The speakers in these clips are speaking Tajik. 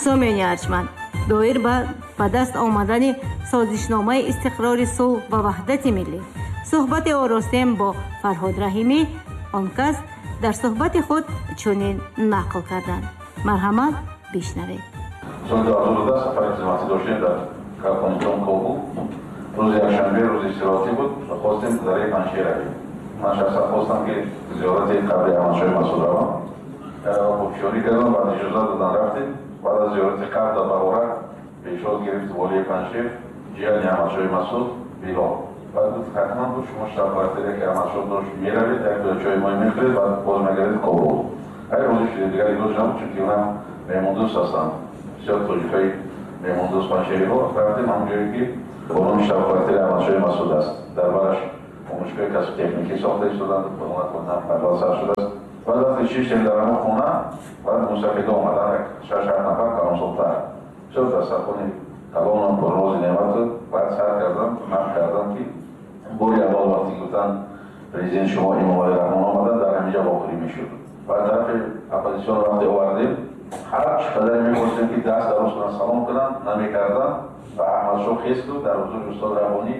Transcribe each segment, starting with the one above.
Сомиёни арҷманд, доир ба даст омадани созишномаи истиқрори сулҳ ва ваҳдати миллӣ суҳбате оростем бо Фарҳод Раҳимӣ. Он кас дар суҳбати худ чунин нақл карданд. Марҳамат, бишнавед. Соли 2010 сафари хизматӣ доштем дар Афғонистон, Кобул. Рӯзи якшанбе, рӯзи истироҳатӣ буд, хостем дараи Панҷшер равем. Ман шахсан хостам, ки зиёрати қабри Аҳмадшоҳи Масъуд равам. Хубшорӣ кардам, баъд иҷозат додан, рафтем. Баъд аз зиёрати қабр дар Баҳорак пешвоз гирифт волии Панҷшер, ҷияни Аҳмадшоҳи Масъуд, Билол. Баъд гуфт, ҳатман гуфт, шумо штаб-квартире ки Аҳмадшоҳ дошт меравед, як чойи мо мехӯред, баъд боз мегардед Кобул. Ҳай, розӣ шудем, дигар илоҷ набуд, чунки онам меҳмондӯст ҳастанд, бисёр тоҷикҳои меҳмондӯст панҷшериҳо. Рафтем ҳамон ҷое ки бо номи штаб-квартири Аҳмадшоҳи Масъуд аст. Дар бараш омӯзишгоҳи касби техникӣ сохта истоданд, аввал сар шудааст. Баъд вақте шиштем дар ҳамон хона, баъд мусафидо омадан, як шаш-ҳафт нафар калонсолтар, бисёр дастархони калонам пуррози неъмату. Баъд сар кардам, нақл кардам, ки бори аввал вақте гуфтанд президент шумо Эмомалӣ Раҳмон омадан, дар ҳаминҷа вохӯрӣ мешуд. Баъд тарафи оппозитсион вақте овардем, ҳар чӣ қадаре мехостем, ки даст дароз кунанд, салом кунанд, намекарданд. Ва Аҳмадшоҳ хест гуфт, дар ҳузури устод Раббонӣ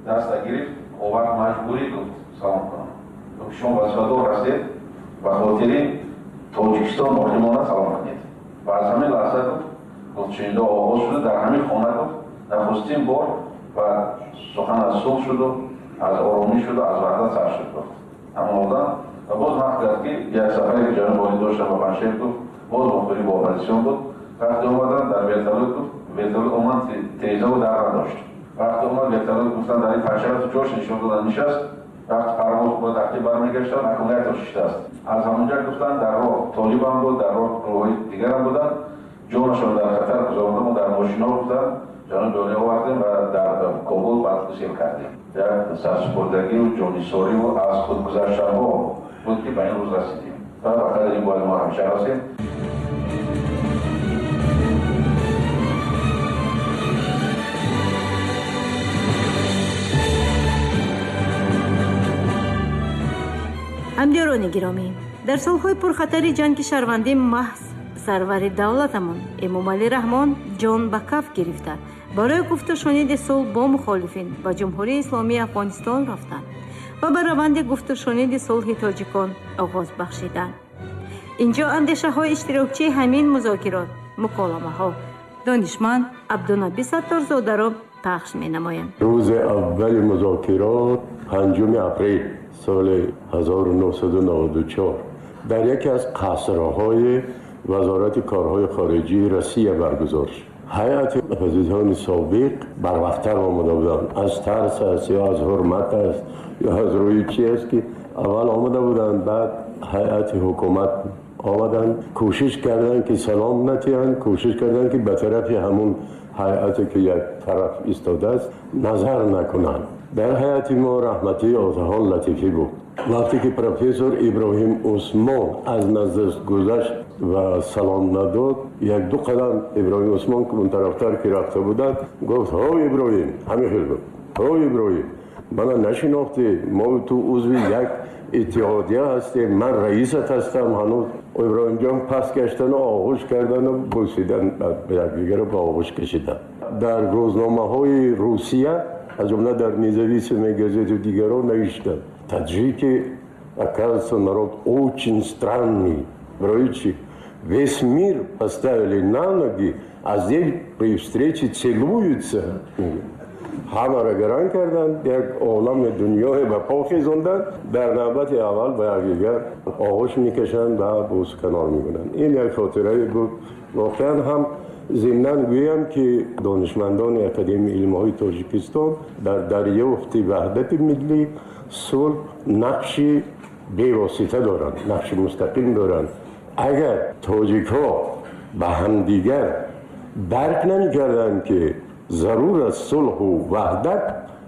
даста гирифт, овард, маҷбурӣ гуфт салом кунам. Гуфт, шумо вазифадор ҳастед, ба хотири Тоҷикистон боқӣ монда салом кунед. Ва аз ҳамин лаҳза гуфт, гуфтшунидо оғоз шуда дар ҳамин хона. Гуфт, нахустин бор ва сухан аз сулҳ шуду, аз оромӣ шуду, аз ваҳдат сар шуд, гуфт ҳамон одам. Ва боз нақл кард, ки як сафаре ки ҷаноби олӣ доштам ба Панҷшер, гуфт, боз вохӯрӣ бо оппозитсион буд. Вақте омаданд дар вертолёт, гуфт, вертолёт омад, тирезаву дар надошт. Вақте омад вертолёт, гуфтанд, дар ин Панҷшер ҷош нишон додан, нишаст. Вақти парвоз бояд ақиб бармегаштанд, аккумулятор шиштааст. Аз ҳамонҷа гуфтанд, дар роҳ толибам буд, дар роҳ гурӯҳҳои дигарам буданд, ҷонашон дар хатар гузаронда, мо дар мошино, гуфтанд, ҷаноби олӣ овардем ва дар Кобул баъд гусел кардем. Як сарсупурдагию ҷонисориву аз худ гузаштанҳо буд, ки ба ин рӯз расидем ва ба қадри ин бояд мо ҳамеша расем. Ҳамдиёрони гиромӣ, дар солҳои пурхатари ҷанги шаҳрвандӣ маҳз сарвари давлатамон Эмомалӣ Раҳмон ҷон ба каф гирифта, барои гуфтушуниди сулҳ бо мухолифин ба Ҷумҳурии Исломии Афғонистон рафтанд ва ба раванди гуфтушуниди сулҳи тоҷикон оғоз бахшиданд. Инҷо андешаҳои иштирокчии ҳамин музокирот, муколамаҳо, донишманд Абдунаби Сатторзодаро пахш менамоям. Рӯзи аввали музокирот, 5 апрел соли 1994, дар яке аз қасрҳои Вазорати корҳои хориҷии Россия баргузор шуд. Ҳайати оппозитсиони собиқ барвақттар омада буданд. Аз тарс аст ё аз ҳурмат аст ё аз рӯи чи аст, ки аввал омада буданд, баъд ҳайати ҳукумат омаданд. Кӯшиш карданд, ки салом натиҳанд, кӯшиш карданд, ки ба тарафи ҳамун ҳайате ки як тараф истодааст назар накунанд. Дар ҳайати мо раҳматии Отахон Латифӣ буд. Вақте ки профессор Иброҳим Усмон аз наздаш гузашт ва салом надод, як ду қадам Иброҳим Усмон, ки он тарафтар ки рафта буданд, гуфт: «Ҳо Иброҳим!» Ҳамин хел гуфт: «Ҳо Иброҳим, мана нашинохтӣ? Мо ту узви як иттиҳодия ҳастем, ман раисат ҳастам ҳанӯз». Иброҳимҷон пас гаштану оғӯш кардану бӯсидан, якдигарро ба оғӯш кашидан. Дар рӯзномаҳои Русия, аз ҷумла дар «Независимой газете» дигарон навиштанд: «Таджики, оказывается, народ очень странный. Барои чи весь мир поставили на ноги, а здесь при встрече целуются». Ҳамаро гаран карданд, як олами дунёе ба по хезонданд. Дар навбати аввал ба якдигар оғӯш мекашанд ва бӯсуканор мекунанд. Ин як хотирае буд воқеан ҳам. Зимнан гӯям, ки донишмандони Академияи илмҳои Тоҷикистон дар дарёфти ваҳдати миллӣ, сулҳ нақши бевосита доранд, нақши мустақим доранд. Агар тоҷикҳо ба ҳамдигар дарк намекарданд, ки зарур аст сулҳу ваҳдат,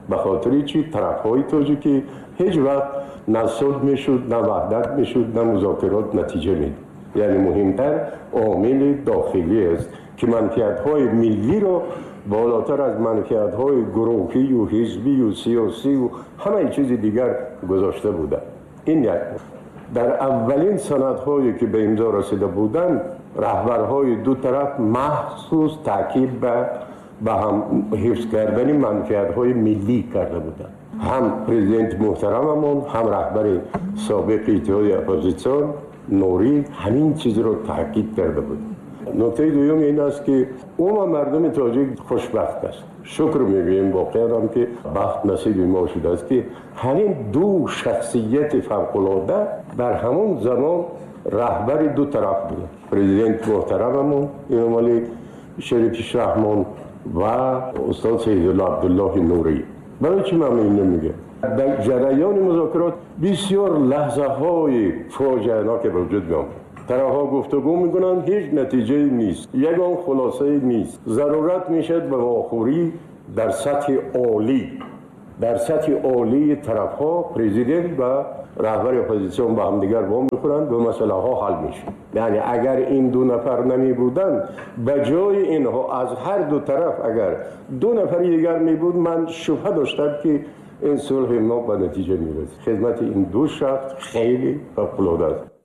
ба хотири чи тарафҳои тоҷикӣ, ҳеҷ вақт на сулҳ мешуд, на ваҳдат мешуд, на музокирот натиҷа медод. Яъне муҳимтар омили дохилӣ аст, ки манфиатҳои миллиро болотар аз манфиатҳои гурӯҳию ҳизбию сиёсию ҳамаи чизи дигар гузошта буданд. Ин як. Дар аввалин санадҳое ки ба имзо расида буданд, Раҳбарҳои ду тараф махсус таъкид ба ҳам ҳифз кардани манфиатҳои миллӣ карда буданд. Ҳам президенти муҳтарамамон, ҳам раҳбари собиқи иттиҳоди оппозитсион Нурӣ ҳамин чизро таъкид карда буд. Нуктаи дуюм ин аст, ки умуман мардуми тоҷик хушбахт аст. Шукр мегӯем воқеан ҳам, ки бахт насиби мо шудааст, ки ҳамин ду шахсияти фавқулода дар ҳамон замон раҳбари ду тараф буданд. Президент муҳтарамамон Эмомалӣ Шарифович Раҳмон ва устод Сайидулло Абдуллоҳи Нурӣ. Барои чӣ ман инро мегӯям? Дар ҷараёни музокирот бисёр лаҳзаҳои фоҷианоке ба вуҷуд меомад. Тарафҳо гуфтугӯ мекунанд, ҳеҷ натиҷае нест, ягон хулосае нест. Зарурат мешавад ба вохӯрӣ дар сатҳи олӣ, дар сатҳи олии тарафҳо президент ва раҳбари оппозитсион ба ҳамдигар вомехӯранд ва масъалаҳо ҳал мешавад. Яъне агар ин ду нафар намебуданд, ба ҷои инҳо аз ҳар ду тараф агар ду нафари дигар мебуд, ман шубҳа доштам, ки ин сулҳи мо ба натиҷа мерасид. Хидмати ин ду шахс хеле фавқулода аст.